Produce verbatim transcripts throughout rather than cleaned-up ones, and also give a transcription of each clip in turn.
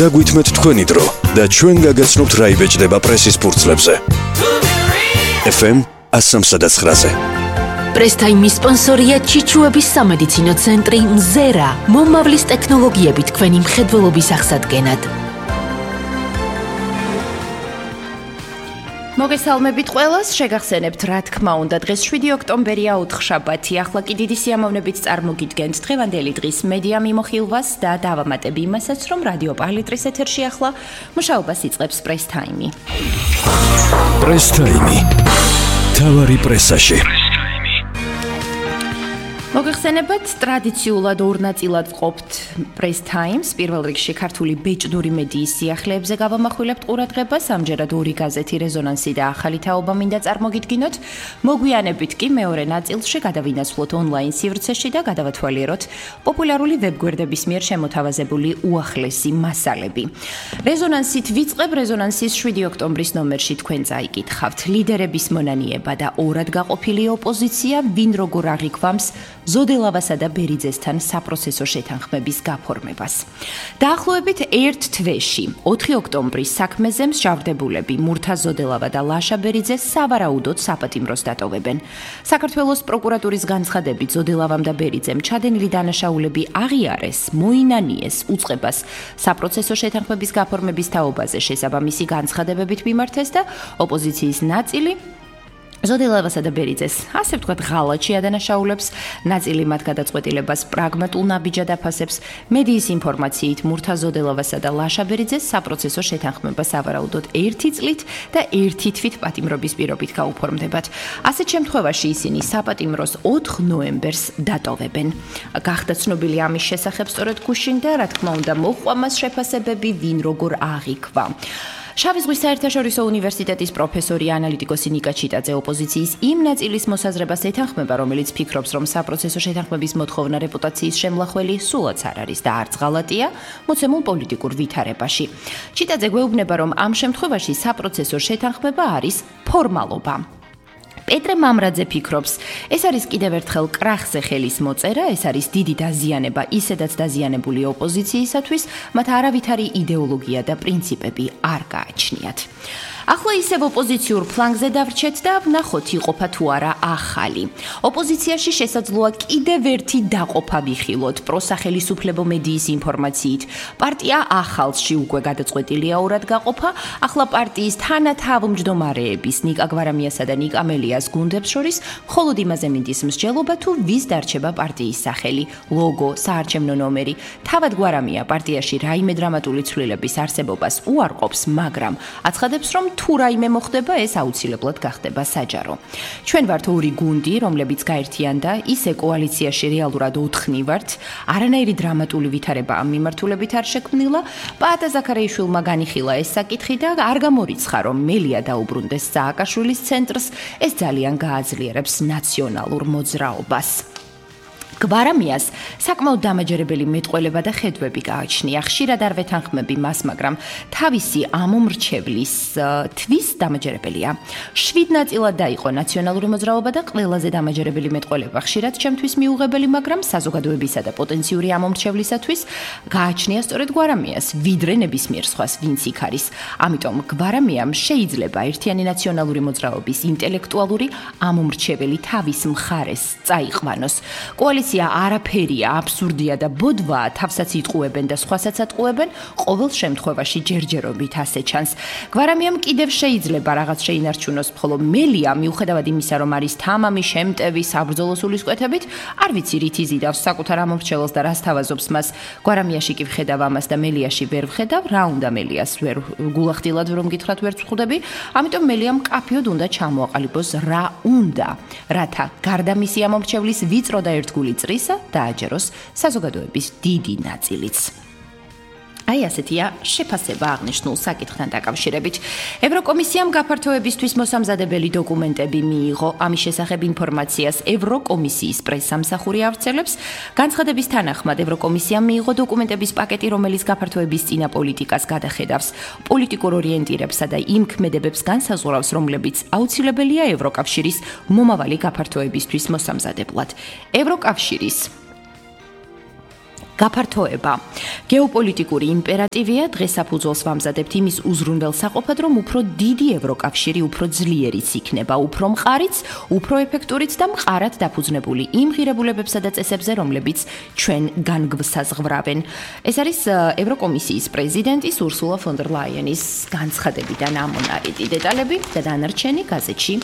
დაგვითმეთ თქვენი დრო და ჩვენ გაგაცნობთ რა იბეჭდება პრესის ფურცლებზე. ეფ ემ one oh seven point nine-ზე. პრესტაიმის სპონსორია ჩიჩუების სამედიცინო ცენტრი მზერა, მომავლის ტექნოლოგიებით თქვენი მხედველობის აღსადგენად. მოგესალმებით ყველას, შეგახსენებთ რა თქმა უნდა დღეს შვიდი ოქტომბერია ოთხშაბათი. ახლა კი დიდი სიამოვნებით წარმოგიდგენთ დღევანდელი დღის მედია მიმოხილვას და დავამატებ იმასაც, რომ რადიო პალიტრის ეთერში ახლა მუშაობას იწყებს პრეს ტაიმი. პრეს ტაიმი. თავარი პრესაში. მოგეხსენებათ, ტრადიციულად ორ ნაწილად ვყოფთ პრეს ტაიმს. პირველ რიგში ქართული ბეჭდური მედიის სიახლეებზე გავამახვილებთ ყურადღებას. ამჯერად ორი გაზეთი რეზონანსი და ახალი თაობა მინდა წარმოგიდგინოთ. მოგვიანებით კი მეორე ნაწილში გადავინაცვლოთ ონლაინ სივრცეში და გადავათვალიეროთ პოპულარული ვებგვერდების მიერ შემოთავაზებული უახლესი მასალები. რეზონანსით ვიწყებ. რეზონანსის შვიდი ოქტომბრის ნომერში თქვენ წაიკითხავთ ლიდერების მონანიება და ორად გაყოფილი ოპოზიცია, ვინ როგორ აღიქვამს ზოდელავასა და ბერიძესთან საპროცესო შეთანხმების გაფორმებას. დაახლოებით ერთ თვეში, ოთხი ოქტომბრის საქმეზე მსჯავრდებულები მურთა ზოდელავა და ლაშა ბერიძე სავარაუდოდ საპატიმროს დატოვებენ. საქართველოს პროკურატურის განცხადებით ზოდელავამ და ბერიძემ ჩადენილი დანაშაულები აღიარეს, მოინანიეს უწყებას საპროცესო შეთანხმების გაფორმების თაობაზე შესაბამისი განცხადებებით მიმართეს და ოპოზიციის ნაწილი ზოდელავასა და ბერიძეს, ასე ვთქვათ, ღალატში ადანაშაულებს, ნაწილი მათ გადაწყვეტილებას პრაგმატულ ნაბიჯად აფასებს, მედიის ინფორმაციით მურთა ზოდელავასა და ლაშა ბერიძეს საპროცესო შეთანხმება სავარაუდოდ ერთი წლით და ერთი თვით პატიმრობის პირობით გაუფორმდებათ. ასეთ შემთხვევაში ისინი საპატიმროს ოთხ ნოემბერს დატოვებენ. გახდა ცნობილი ამის შესახებ სწორედ გუშინ და რა თქმა უნდა მოჰყვა მას შეფასებები, ვინ როგორ აღიქვა. შავი ზღვის საერთაშორისო უნივერსიტეტის პროფესორი ანალიტიკოსი ნიკა ჩიტაძე ოპოზიციის იმ ნაწილის მოსაზრებას ეთანხმება, რომელიც ფიქრობს, რომ საპროცესო შეთანხმების მოთხოვნა რეპუტაციის შემლახველი სულაც არ არის და არც ღალატია მოცემულ პოლიტიკურ ვითარებაში. ჩიტაძე გვეუბნება, რომ ამ შემთხვევაში საპროცესო შეთანხმება არის ფორმალობა. პეტრე მამრაძე ფიქრობს, ეს არის კიდევ ერთხელ კრახზე ხელის მოწერა, ეს არის დიდი დაზიანება ისედაც დაზიანებული ოპოზიციისათვის, მათ არავითარი იდეოლოგია და პრინციპები არ გააჩნიათ. ახლა ისევ ოპოზიციურ ფლანგზე დავრჩეთ და ვნახოთ იყოფა თუ არა ახალი. ოპოზიციაში შესაძლოა კიდევ ერთი დაყოფა ვიხილოთ პროსახელისუფლებო მედიის ინფორმაციით. პარტია ახალში უკვე გადაწყვეტილია ორად გაყოფა. ახლა პარტიის თანათავმჯდომარეების ნიკა გვარამიასა და ნიკა მელიას გუნდებს შორის მხოლოდ იმაზე მინდის მსჯელობა თუ ვის დარჩება პარტიის სახელი, ლოგო, საარჩევნო ნომერი. თავად გვარამია პარტიაში რაიმე დრამატული ცვლილების არსებობას უარყოფს, მაგრამ აცხადებს, რომ თუ რაიმე მოხდება, ეს აუცილებლად გახდება საჯარო. ჩვენ ვართ ორი გუნდი, რომლებიც გაერთიანდა, ისე კოალიციაში რეალურად ოთხნი ვართ. არანაირი დრამატული ვითარება ამ მიმართულებით არ შექმნილა. პაატა ზაქარიაშვილმა განიხილა ეს საკითხი და არ გამორიცხა, რომ მელია დაუბრუნდეს სააკაშვილის ცენტრს. ეს ძალიან გააძლიერებს ნაციონალურ მოძრაობას. გვარამიას საკმაოდ დამაჯერებელი მეტყველება და ხედვები გააჩნია. ხშირად არ ვეთანხმები მას, მაგრამ თავისი ამომრჩევლის თვის დამაჯერებელია. შვიდ ნაწილად დაიყო ნაციონალური მოძრაობა და ყველაზე დამაჯერებელი მეტყველება ხშირად ჩემთვის მიუღებელი, მაგრამ საზოგადოებისა და პოტენციური ამომრჩევლისათვის გააჩნია სწორედ გვარამიას, ვიდრე ნებისმიერ სხვას, ვინც იქ არის. ამიტომ გვარამიამ შეიძლება ერთიანი ნაციონალური მოძრაობის ინტელექტუალური ამომრჩეველი თავის მხარეს წაიყვანოს. კოალიცია არაფერია, აბსურდია და ბოდვაა, თავსაც იტყუებენ და სხვასაც ატყუებენ, ყოველ შემთხვევაში ჯერჯერობით ასე ჩანს. გვარამიამ კიდევ შეიძლება რაღაც შეინარჩუნოს, ხოლო მელია, მიუხედავად იმისა, რომ არის თამამი, შემტევი, საბრძოლო სულისკვეთებით, არ ვიცი რით იზიდავს საკუთარ ამორჩეველს და რას თავაზობს მას. გვარამიაში კი ვხედავ ამას და მელიაში ვერ ვხედავ, რა უნდა მელიას ვერ გულახდილად რომ გითხრათ ვერ ვხვდები, ამიტომ მელიამ კაფეოდ უნდა ჩამოაყალიბოს რა უნდა, რათა გარდა მისი ამორჩევლის ვიწრო და ერთგული წრისა დააჯეროს საზოგადოების დიდი ნაწილიც. აი ასეთია შეფასება აღნიშნულ საკითხთან დაკავშირებით. ევროკომისიამ გაფართოებისთვის მოსამზადებელი დოკუმენტები მიიღო. ამის შესახებ ინფორმაციას ევროკომისიის პრესსამსახური ავრცელებს. განცხადების თანახმად ევროკომისიამ მიიღო დოკუმენტების პაკეტი, რომელიც გაფართოების წინა პოლიტიკას გადახედავს, პოლიტიკურ ორიენტირებსა და იმ ქმედებებს განსაზღვრავს, რომლებიც აუცილებელია ევროკავშირის მომავალი გაფართოებისთვის მოსამზადებლად. ევროკავშირის გაფართოება. გეოპოლიტიკური იმპერატივია, დღეს საფუძველს ვამზადებთ იმის უზრუნველსაყოფად, რომ უფრო დიდი ევროკავშირი უფრო ძლიერიც იქნება, უფრო მყარიც, უფრო ეფექტურიც და მყარად დაფუძნებული იმ ღირებულებებსა და წესებზე, რომლებიც ჩვენ განგვსაზღვრავენ. ეს არის ევროკომისიის პრეზიდენტის ურსულა ფონ დერ ლაიენის განცხადებიდან ამონარიდი დეტალები და დანარჩენი გაზეთში.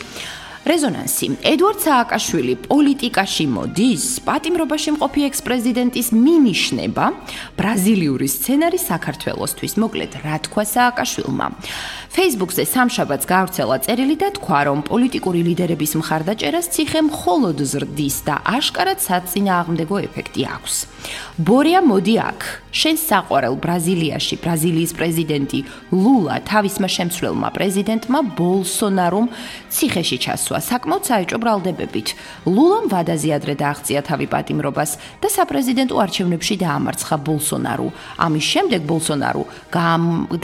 რეზონანსი. ედვარდ სააკაშვილი პოლიტიკაში მოდის, პატიმრობაში მყოფი ექს-პრეზიდენტის მინიშნება, ბრაზილიური სცენარი საქართველოსთვის. მოკლედ, რა თქვა სააკაშვილმა? Facebook-ზე სამშაბათს გავრცელა წერილი და თქვა, რომ პოლიტიკური ლიდერების მხარდაჭერას ციხე მხოლოდ ზრდის და აშკარად საწინააღმდეგო ეფექტი აქვს. ბორია, მოდი აქ. შენ საყვარელ ბრაზილიაში ბრაზილიის პრეზიდენტი ლულა თავისმა შემცვლელმა პრეზიდენტმა ბოლსონარომ ციხეში ჩასვა საკმაოდ საეჭვო ბრალდებებით. ლულამ ვადაზე ადრე დააღწია თავი პატიმრობას და საპრეზიდენტო არჩევნებში დაამარცხა ბოლსონარო. ამის შემდეგ ბოლსონარო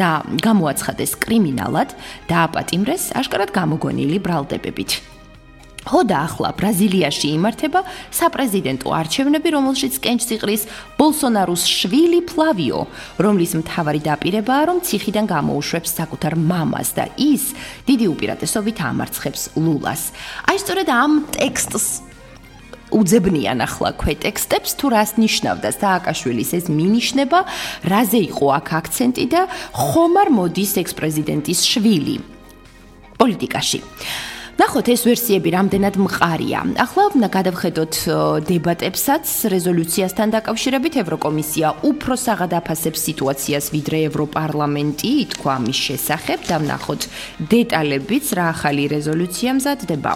და გამოაცხადეს კრიმინალად და აპატიმრეს აშკარად გამოგონილი ბრალდებებით. ხოდა ახლა ბრაზილიაში იმართება საპრეზიდენტო არჩევნები, რომელშიც კენჭს იყრის ბოლსონაროს შვილი ფლავიო, რომლის მთავარი დაპირებაა, რომ ციხიდან გამოუშვებს საკუთარ მამას და ის დიდი უპირატესობით ამარცხებს ლულას. აი სწორედ ამ ტექსტს უძებნიან ახლა ქვეტექსტებს, თუ რას ნიშნავდა სააკაშვილის ეს მინიშნება, რაზე იყო აქ აქცენტი და ხომ არ მოდის ექს-პრეზიდენტის შვილი პოლიტიკაში. ნახოთ, ეს ვერსიები რამდენად მყარია. ახლა გადავხედოთ დებატებსაც რეზოლუციასთან დაკავშირებით. ევროკომისია უფრო საღად აფასებს სიტუაციას, ვიდრე ევროპარლამენტი, ითქვა ამის შესახებ და ვნახოთ დეტალებიც, რა ახალი რეზოლუცია მზადდება.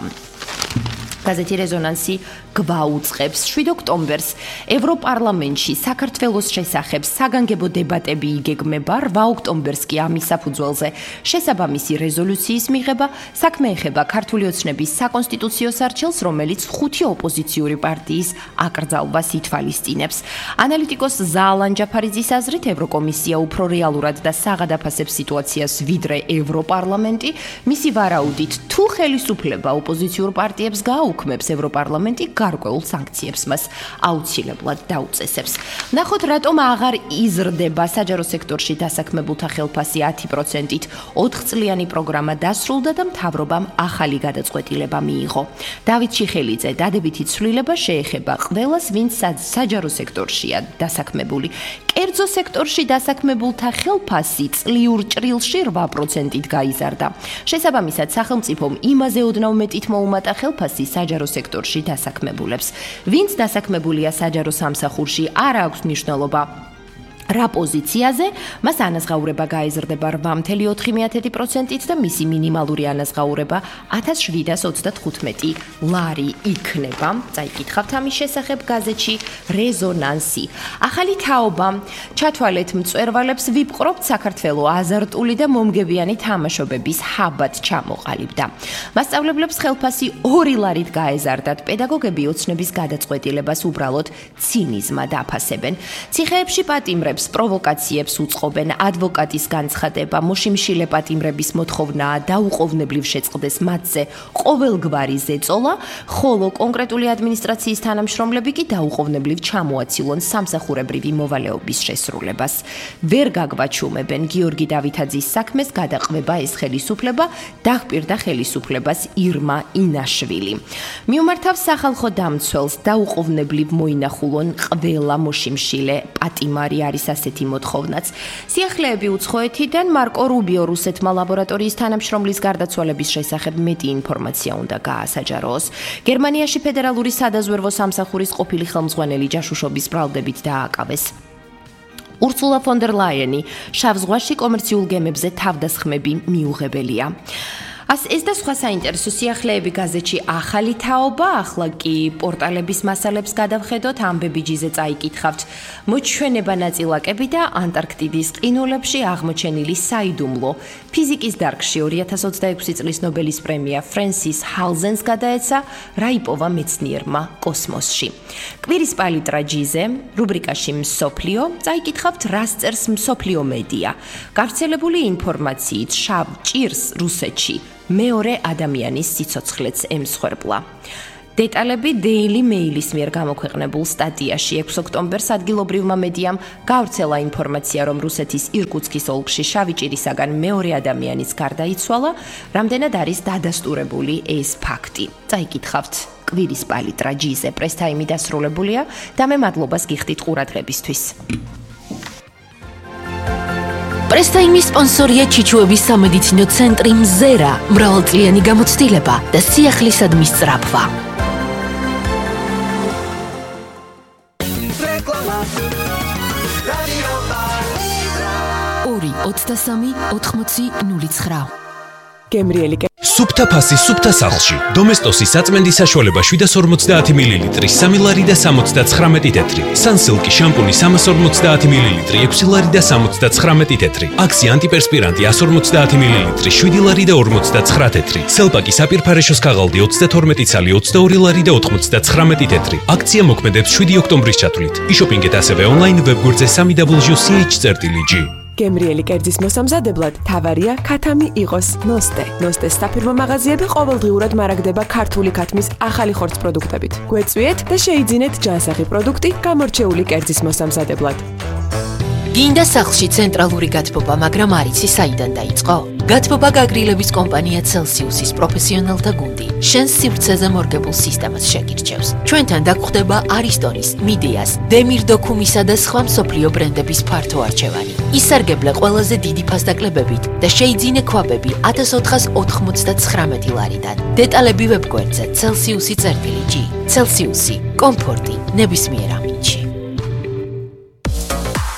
გაზეთი რეზონანსი გვაუწყებს შვიდ ოქტომბერს ევროპარლამენტში საქართველოს შესახებ საგანგებო დებატები იგეგმება. რვა ოქტომბერს კი ამის საფუძველზე შესაბამისი რეზოლუციის მიღება. საქმე ეხება ქართული ოცნების საკონსტიტუციო სარჩელს, რომელიც ხუთი ოპოზიციური პარტიის აკრძალვას ითვალისწინებს. ანალიტიკოს ზალან ჯაფარიძის აზრით, ევროკომისია უფრო რეალურად და საღად აფასებს სიტუაციას, ვიდრე ევროპარლამენტი. მისი ვარაუდით, თუ ხელისუფლება ოპოზიციურ პარტიებს გააუქმებს, ევროპარლამენტი გარკვეულ სანქციებს მას აუცილებლად დაუწესებს. ნახოთ, რატომ აღარ იზრდება საჯარო სექტორში დასაქმებულთა ხელფასი ათი პროცენტით. ოთხწლიანი პროგრამა დასრულდა და მთავრობამ ახალი გადაწყვეტილება მიიღო. დავით ჩიხელიძე, დადებითი ცვლილება შეეხება ყველას, ვინც საჯარო სექტორშია დასაქმებული. კერძო სექტორში დასაქმებულთა ხელფასი წლიურ ჭრილში რვა პროცენტით გაიზარდა. შესაბამისად, სახელმწიფომ იმაზე ოდნავ მეტით მოუმატა ხელფასი საჯარო სექტორში დასაქმებულებს. ვინც დასაქმებულია საჯარო სამსახურში, არ აქვს მნიშვნელობა რა პოზიციაზე, მას ანაზღაურება გაიზრდება რვა წუთი ოთხი პროცენტით და მისი მინიმალური ანაზღაურება ათას შვიდას ოცდათხუთმეტი ლარი იქნება. წაიკითხავთ ამის შესახებ გაზეთში რეზონანსი. ახალი თაობა. ჩათვალეთ მწვერვალებს, ვიპყრობთ საქართველო აზარტული და მომგებიანი თამაშობების ჰაბად ჩამოყალიბდა. მასწავლებლებს ხელფასი ორი ლარით გაეზარდათ. პედაგოგები ოცნების გადაწყვეტილებას უბრალოდ ცინიზმად აფასებენ. ციხეებში პატიმრებს პროვოკაციებს უწყობენ. ადვოკატის განცხადება, მოშიმშილე პატიმრების მოთხოვნაა დაუყოვნებლივ შეწყდეს მათზე ყოველგვარი ზეწოლა, ხოლო კონკრეტული ადმინისტრაციის თანამშრომლები კი დაუყოვნებლივ ჩამოაცილონ სამსახურებრივი მოვალეობის შესრულებას. ვერ გაგვაჩუმებენ გიორგი დავითაძის საქმეს გადაყვება ეს ხელისუფლება, დახპირდა ხელისუფლებას ირმა ინაშვილი. მიუმართავს სახალხო დამცველს, დაუყოვნებლივ მოინახულონ ყველა მოშიმშილე პატიმარი არის ასეთი მოთხოვნაც. სიახლეები უცხოეთიდან. მარკო რუბიო რუსეთმა ლაბორატორიის თანამშრომლის გარდაცვალების შესახებ მეტი ინფორმაცია უნდა გაასაჯაროს. გერმანიაში ფედერალური სადაზვერვო სამსახურის ყოფილი ხელმძღვანელი ჯაშუშობის ბრალდებით დააკავეს. ურსულა ფონ დერ ლაიენი, შავ ზღვაში კომერციულ გემებზე თავდასხმები მიუღებელია. ას ეს და სხვა საინტერესო სიახლეები გაზეთში ახალი თაობა. ახლა კი პორტალების მასალებს გადავხედოთ, ამბები ჯიზე წაიკითხავთ. მოჩვენება ნაწილაკები და ანტარქტიდის ყინულებში აღმოჩენილი საიდუმლო. ფიზიკის დარგში ორი ათას ოცდაექვსი წლის ნობელის პრემია ფრენსის ჰალზენს გადაეცა რაიპოვა მეცნიერმა კოსმოსში. კვირის პალიტრა ჯიზე, რუბრიკაში მსოფლიო, წაიკითხავთ რას წერს მსოფლიო მედია. გავრცელებული ინფორმაციით შავ ჭირს რუსეთში მეორე ადამიანის სიცოცხლეც ემსხვერპლა. დეტალები Daily Mail-ის მიერ გამოქვეყნებულ სტატიაში ექვსი ოქტომბერს ადგილობრივმა მედიამ გავრცელა ინფორმაცია, რომ რუსეთის ირკუტსკის ოლქში შავი ჭირისაგან მეორე ადამიანის გარდაიცვალა, რამდენად არის დადასტურებული ეს ფაქტი. წაიკითხავთ კვირის პალიტრა ჯიზე პრესტაიმი დასრულებულია და მე მადლობას გიხდით ყურადღებისთვის. პრესტაიმის სპონსორია ჩიჩუების სამედიცინო ცენტრი მზერა, მრავალწლიანი გამოცდილება და სიახლისადმი სწრაფვა. ორი ოცდასამი ოთხმოცი ნული ცხრა გემრიელი სუფთა ფასი სუფთა სახლში. დომესტოსის საწმენდის საშუალება შვიდას ორმოცდაათი მილილიტრი, სამი ლარი და სამოცდაცხრამეტი თეთრი. სანსილკი შამპუნი სამას ორმოცდაათი მილილიტრი, ექვსი ლარი და სამოცდაცხრამეტი თეთრი. აქსი ანტიპერსპირანტი ასი ორმოცდაათი მილილიტრი, შვიდი ლარი და ორმოცდაცხრა თეთრი. სელპაკი საპირფარეშოს ქაღალდი ოცდათორმეტი ცალი, ოცდაორი ლარი და ოთხმოცდაცხრამეტი თეთრი. აქცია მოქმედებს შვიდი ოქტომბრის ჩათვლით. იშოპინგეთ ასევე ონლაინ ვებგვერდზე სამი დაბლიუ სი ეიჩ წერტილი ჯი. გემრიელი კერძის მოსამზადებლად თავარია ქათამი იყოს ნოსტე. ნოსტეს საფირმო მაღაზიები ყოველდღიურად მარაგდება ქართული ქათმის ახალი ხორცს პროდუქტებით. გვეწვიეთ და შეიძინეთ ჯანსაღი პროდუქტი გამორჩეული კერძის მოსამზადებლად. გინდა სახლში ცენტრალური გათბობა, მაგრამ არ იცი საიდან დაიწყო? გათბობა გაგრილების კომპანია Celsius-ის პროფესიონალთა გუნდი შენს სივრცეზე მორგებულ სისტემას შეგირჩევს. ჩვენთან დაგხვდება არისტონის, მიდეას, დემირდოქუმისა და სხვა მსოფლიო ბრენდების ფართო არჩევანი. ისარგებლე ყველაზე დიდი ფასდაკლებებით და შეიძინე ქვაბები ათას ოთხას ოთხმოცდაცხრამეტი ლარიდან. დეტალები ვებგვერდზე Celsius-ი წერტილი ჯი. Celsius-ი, კომფორტი ნებისმიერ ამინდში.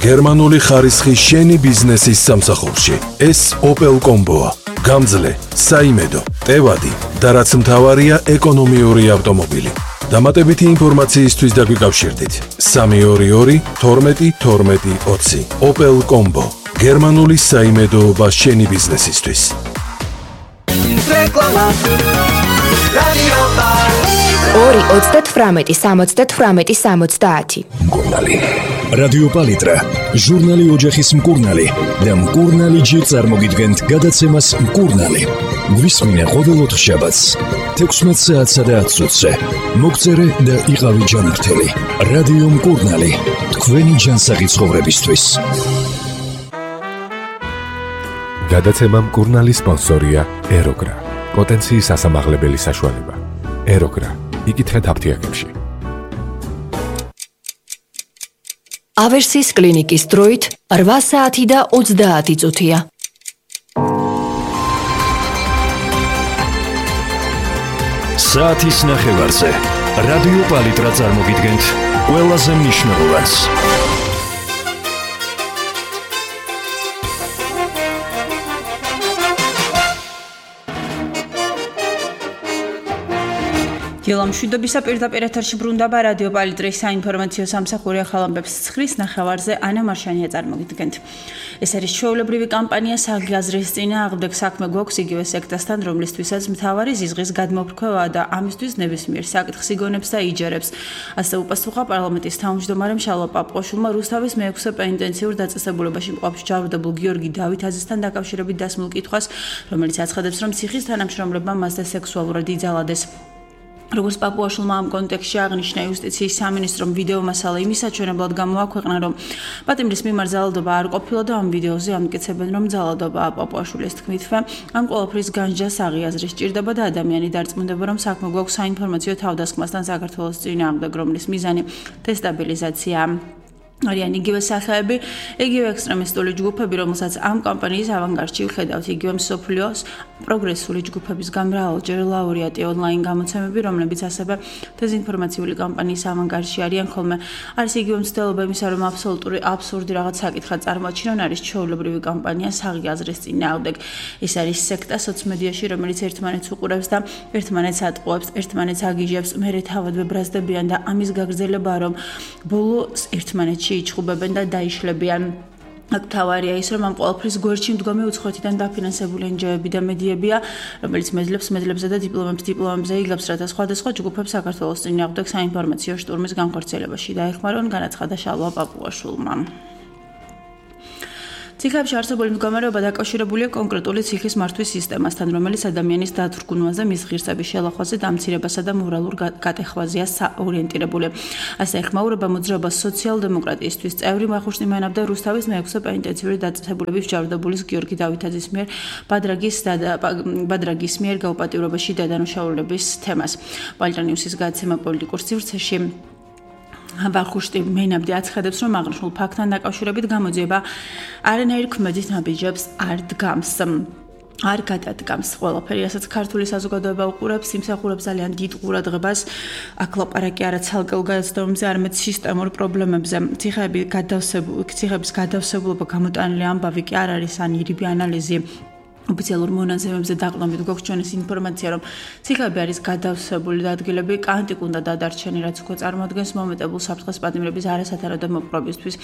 გერმანული ხარისხი შენი ბიზნესის სამსახურში. ეს Opel Combo-ა. გამძლე, საიმედო, ტევადი და რაც მთავარია, ეკონომიური ავტომობილი. დამატებითი ინფორმაციისთვის დაგვიკავშირდით. სამი ორი ორი თორმეტი თორმეტი ოცი. Opel Combo. გერმანული საიმედოობა შენი ბიზნესისთვის. ორი ოცდათვრამეტი სამოცდათვრამეტი სამოცდაათი. მკურნალი. რადიო პალიტრა, ჟურნალი ოჯახის მკურნალი და მკურნალი ჯი წარმოგიდგენთ გადაცემას მკურნალი. გვისმინე ყოველ ოთხშაბათს, თექვსმეტ საათსა და ათს წუთზე. მოგწერე და იყავი ჯანმრთელი. რადიო მკურნალი, თქვენი ჯანსაღი ცხოვრებისთვის. გადაცემა მკურნალი სპონსორია ეროგრა. პოტენციის ასამაღლებელი საშუალება. ეროგრა. იკითხეთ აფთიაქებში. ავერსის კლინიკის დროით რვა საათი და ოცდაათი წუთია. საათის ნახევარზე რადიო პალიტრა წარმოგიდგენთ ყველაზე მნიშვნელოვანს. ილამშვიდობისა პირდაპირ ეთერში ბრუნდება რადიო პალიტრის საინფორმაციო სამსახური ახალ ამბებს ცხრის ნახევარზე ანა მარშანია წარმოგიდგენთ. ეს არის ჩვეულებრივი კამპანია საგი აზრის წინააღმდეგ საქმე გვაქვს იგივე სექტასთან, რომლისთვისაც მთავარი ზიზღის გადმოფრქვევაა და ამისთვის ნებისმიერ საკითხს იგონებს და იჯერებს. ასე უპასუხა პარლამენტის თავმჯდომარემ შალვა პაპუაშვილმა რუსთავის მეექვსე პენიტენციურ დაწესებულებაში მყოფ ჯავრდებულ გიორგი დავითაძესთან დაკავშირებით დასმულ კითხვას, რომელიც აცხადებს, რომ ციხის თანამშრომლებმა მასზე სექსუალურად იძალადეს. როგორც პაპუაშვილმა ამ კონტექსტში აღნიშნა იუსტიციის სამინისტრომ ვიდეო მასალა იმის საჩვენებლად გამოაქვეყნა, რომ პატიმრის მიმართ ძალადობა არ ყოფილა და ამ ვიდეოზე ამტკიცებენ, რომ ძალადობაა. პაპუაშვილის თქმითვე, ამ ყველაფრის განჯას აღიაზრი სჭირდება და ადამიანი დარწმუნდება, რომ საქმე გვაქვს საინფორმაციო თავდასხმასთან საქართველოს წინააღმდეგ, რომლის მიზანი დესტაბილიზაციაა. არიან იგივე სახეები, იგივე ექსტრემისტული ჯგუფები, რომელსაც ამ კამპანიის ავანგარდში ვხედავთ, იგივე მსოფლიოს პროგრესული ჯგუფების გამრავალჯერ ლაურეატი ონლაინ გამოცემები, რომლებიც ასევე დეზინფორმაციული კამპანიის ავანგარდში არიან ხოლმე. არის იგივე მცდელობა იმისა, რომ აბსოლუტური აბსურდი რაღაც საკითხად წარმოაჩინონ, არის ჩვეულებრივი კამპანია საღი აზრის წინააღმდეგ. ეს არის სექტა სოციმედიაში, რომელიც ერთმანეთს უყურებს და ერთმანეთს ატყუებს, ერთმანეთს აგიჟებს, მერე თავად ვებრაზდებიან და ამის გაგრძელებაა, რომ ბოლოს ერთმანეთში იჩხუბებენ და დაიშლებიან. აქ თავარია ის, რომ ამ ყველაფრის გვერდში მდგომი უცხოეთიდან დაფინანსებული ენჯოები და მედიებია, რომელიც მედლებს მედლებსა და დიპლომებს დიპლომებზე იგებს, რათა სხვადასხვა ჯგუფებს საქართველოს წინააღმდეგ საინფორმაციო შტურმის განხორციელებაში დაეხმარონ, განაცხადა შალვა პაპუაშვილმა. ციხეებში არსებული მდგომარეობა დაკავშირებულია კონკრეტული ციხის მართვის სისტემასთან, რომელიც ადამიანის დათრგუნვაზე, მის ღირსების შელახვაზე, დამცირებასა და მორალურ გატეხვაზეა ორიენტირებული. ასე ეხმაურება მოძრაობას სოციალ-დემოკრატიისთვის წევრი ვახუშტი მანაბ და რუსთავის მეექვსე პენიტენციური დაწესებულების ჯარდობულის გიორგი დავითაძის მიერ ბადრაგის ბადრაგის მიერ გაუპატიურებაში დადანაშაულების თემას. პალიტრა ნიუსის გადაცემა პოლიტიკურ სივრცეში ვახუშტი მენაბდი აცხადებს, რომ აღნიშნულ ფაქტთან დაკავშირებით გამოძიება არანაირ ქმედით ნაბიჯებს არ დგამს. არ გადადგამს ყველაფერი, რასაც ქართული საზოგადოება უყურებს, იმსახურებს ძალიან დიდ ყურადღებას, აქ ლაპარაკი არა ცალკეულ გადაცემებზე, არამედ სისტემურ პრობლემებზე. ციხეები გადავსებული, ციხეების გადავსებულობა გამოტანილი ამბავი კი არ არის ან ირიბი ანალიზი. ოფიციალურ მონაზემებზე დაყრდნობით გვაქვს ჩვენის ინფორმაცია, რომ ციხეები არის გადავსებული და ადგილები კანტიკ უნდა დადარჩენი, რაც უკვე წარმოადგენს მომეტებულ საფრთხეს პატიმრების არასათანადო მოპყრობისთვის.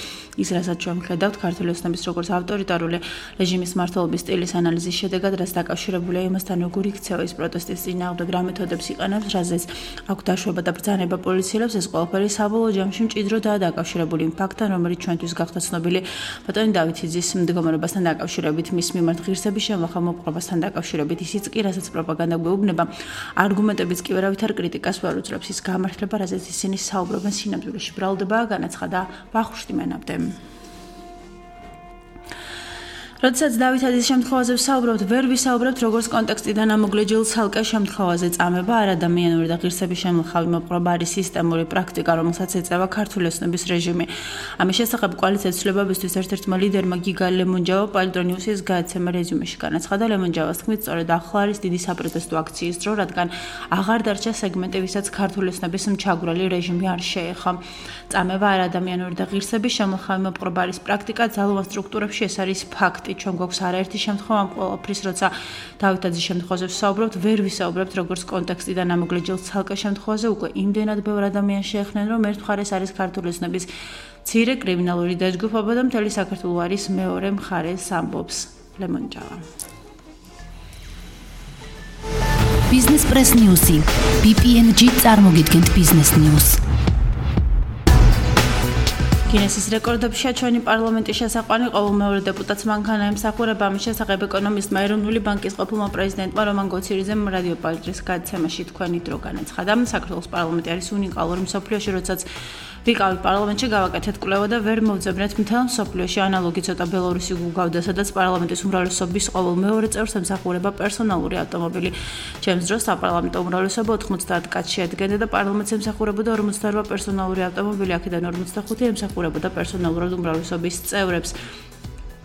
ის, რასაც ჩვენ ვხედავთ ქართული ოცნების როგორც ავტორიტარული რეჟიმის მმართველობის სტილის ანალიზის შედეგად, რაც დაკავშირებულია იმასთან, როგორ იქცევა ის პროტესტის წინააღმდეგ, რა მეთოდებს იყენებს, რაზეც აქვს დაშვება და ბრძანება პოლიციელებს, ეს ყველაფერი საბოლოო ჯამში მჭიდროდაა დაკავშირებული იმ ფაქტთან, რომელიც ჩვენთვის გახდა ცნობილი ბატონი დავითიძის მდგომარეობასთან დაკავშირებით, მის მიმართ ღირსების შემოხ მოპყრობასთან დაკავშირებით. ისიც კი, რასაც პროპაგანდა გვეუბნება, არგუმენტებიც კი ვერავით არ კრიტიკას ვერ უძლებს. ის გამართლება, რაზეც ისინი საუბრობენ, სინამდვილეში ბრალდებაა, განაცხადა ვახუშტი მენაბდემ. როდესაც დავითაძის შემთხვევაზე ვსაუბრობთ, ვერ ვისაუბრებთ როგორც კონტექსტიდან ამოგლეჯილ ცალკე შემთხვევაზე წამება, არადამიანური და ღირსების შემოხავი მოპყრობა არის სისტემური პრაქტიკა, რომელსაც ეწევა ქართული ოცნების რეჟიმი. ამის შესახებ კოალიციას ცვლილებებისთვის ერთ-ერთმა ლიდერმა გიგა ლემონჯავა პალიტრა ნიუსის გადაცემა რეზიუმეში განაცხადა. ლემონჯავას თქმით, სწორედ ახლა არის დიდი საპროტესტო აქციის დრო, რადგან აღარ დარჩა სეგმენტი, ვისაც ქართული ოცნების მჩაგვრელი რეჟიმი არ შეეხო. წამება არადამიანური და ღირსების შემოხავი მოპყრობა არის პრაქტიკა, ძალოვან სტრუქტურებში ეს არის ფაქტი. ჩვენ გვაქვს არაერთი შემთხვევა ამ ყველაფრის, როცა დავითაძის შემთხვევაზე ვსაუბრობთ, ვერ ვისაუბრებთ როგორც კონტექსტიდან ამოგლეჯილ ცალკე შემთხვევაზე, უკვე იმდენად ბევრ ადამიანს შეეხნენ, რომ ერთ მხარეს არის ქართული ოცნების მცირე კრიმინალური დაჯგუფება და მთელი საქართველო არის მეორე მხარეს, ამბობს ლემონჯავა. ბიზნეს პრეს ნიუსი. ბი პი εν ჯი წარმოგიდგენთ ბიზნეს ნიუს. გინესის რეკორდებშია ჩვენი პარლამენტის შესაყვანი ყოველმეორე დეპუტატს მანქანა ემსახურება. ამის შესახებ ეკონომისტმა ეროვნული ბანკის ყოფილმა პრეზიდენტმა რომან გოცირიძემ რადიო პალიტრის გადაცემაში თქვენი დრო განაცხადა. საქართველოს პარლამენტი არის უნიკალური მსოფლიოში, როდესაც ვიყავით პარლამენტში, გავაკეთეთ კვლევა და ვერ მოვძებნეთ მთელ მსოფლიოში ანალოგი ცოტა ბელორუსი გუგავდა, სადაც პარლამენტის უმრავლესობის ყოველმეორე წევრს ემსახურება პერსონალური ავტომობილი. ჩემს დროს საპარლამენტო უმრავლესობა ოთხმოცდაათ კაცს შეადგენდა და პარლამენტს ემსახურებოდა ორმოცდაორვა პერსონალური ავტომობილი, აქედან ორმოცდახუთი ემსახურებოდა პერსონალურად უმრავლესობის წევრებს.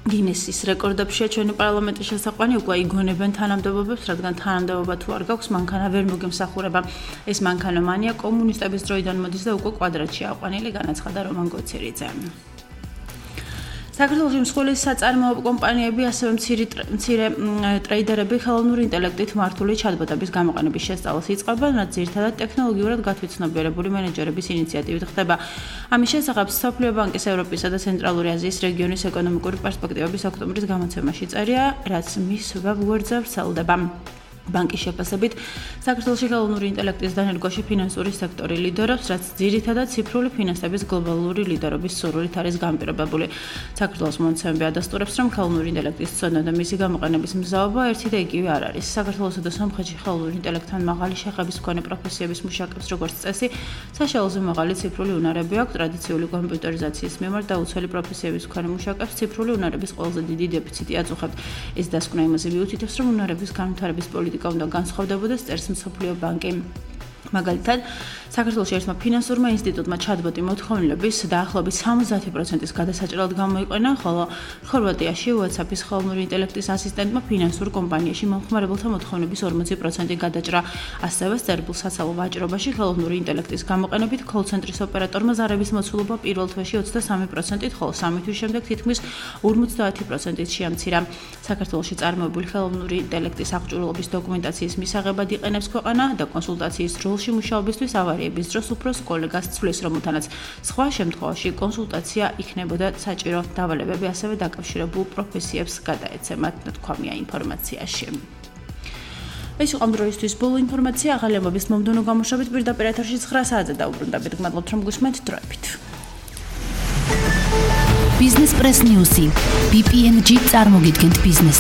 გინესის რეკორდებშია ჩვენი პარლამენტის შესაყვანი, უკვე იგონებენ თანამდებობებს, რადგან თანამდებობა თუ არ გაქვს, მანქანა ვერ მოგემსახურება. ეს მანქანა მანია კომუნისტების დროიდან მოდის და უკვე კვადრატში აყვანილი, განაცხადა რომან გოცირიძე. საქართველოს მსხვილი საწარმოო კომპანიები, ასევე მცირე ტრეიდერები ხელოვნური ინტელექტით მართული ჩატბოტების გამოყენების შესწავლას იწყებენ, რაც ძირითადად ტექნოლოგიურად გათვითცნობიერებული მენეჯერების ინიციატივით ხდება. ამის შესახებ მსოფლიო ბანკის ევროპისა და ცენტრალური აზიის რეგიონის ეკონომიკური პერსპექტივების ოქტომბრის გამოცემაში წერია, რაც მის ვებგვერდზე ვრცელდება. ბანკის შეფასებით, საქართველოში ხელოვნური ინტელექტის დანერგვაში ფინანსური სექტორი ლიდერობს, რაც ძირითადად ციფრული ფინანსების გლობალური ლიდერობის სურვილით არის განპირობებული. საქართველოს მონაცემები ადასტურებს, რომ ხელოვნური ინტელექტის ცოდნა და მისი გამოყენების მზაობა ერთი და იგივე არ არის. საქართველოსა და სომხეთში ხელოვნური ინტელექტთან მაღალი შეხების მქონე პროფესიების მუშაკებს, როგორც წესი, საშუალოზე მაღალი ციფრული უნარები აქვს. ტრადიციული კომპიუტერიზაციის მიმართ დაუცველი პროფესიების მქონე მუშაკებს ციფრული უნარების ყველაზე დიდი დეფიციტი აწუხებთ. ეს დასკვნა იმაზე მიუთითებს, რომ უნარების განვითარების პოლიტიკა უნდა განსხვავდებოდეს, წერს მსოფლიო ბანკი. მაგალითად, საქართველოში ერთმა ფინანსურმა ინსტიტუტმა ჩატბოტი მოთხოვნილების დაახლოებით სამოცდაათი პროცენტის გადასაჭრელად გამოიყენა, ხოლო ხორვატიაში WhatsApp-ის ხელოვნური ინტელექტის ასისტენტმა ფინანსურ კომპანიაში მომხმარებელთა მოთხოვნების ორმოცი პროცენტი გადაჭრა. ასევე სერბულ საცალო ვაჭრობაში ხელოვნური ინტელექტის გამოყენებით კოლ-ცენტრის ოპერატორმა ზარების მოცულობა პირველ თვეში ოცდასამი პროცენტით, ხოლო სამი თვის შემდეგ თითქმის ორმოცდაათი პროცენტით შეამცირა. საქართველოში წარმოებული ხელოვნური ინტელექტის აღჭურვილობის დოკუმენტაციის მისაღებად იყენებს ქვეყანა და კონსულტაციის როლში მუშაობისთვის ავარიების დროს უფროს კოლეგას ცვლის, რომელთანაც სხვა შემთხვევაში კონსულტაცია იქნებოდა საჭირო. დავალებები ასევე დაკავშირებულ პროფესიებს გადაეცემათ, თქვამია ინფორმაციაში. ეს იყო ამ დროისთვის ბოლო ინფორმაცია, ახალი ამბების მომდევნო გამოშვებით პირდაპირ ეთერში ცხრა საათზე დაუბრუნდებით. გმადლობთ, რომ გусმენთ დროებით. ბიზნეს პრეს ნიუსი, ბი პი ენ ჯი წარმოგიდგენთ ბიზნეს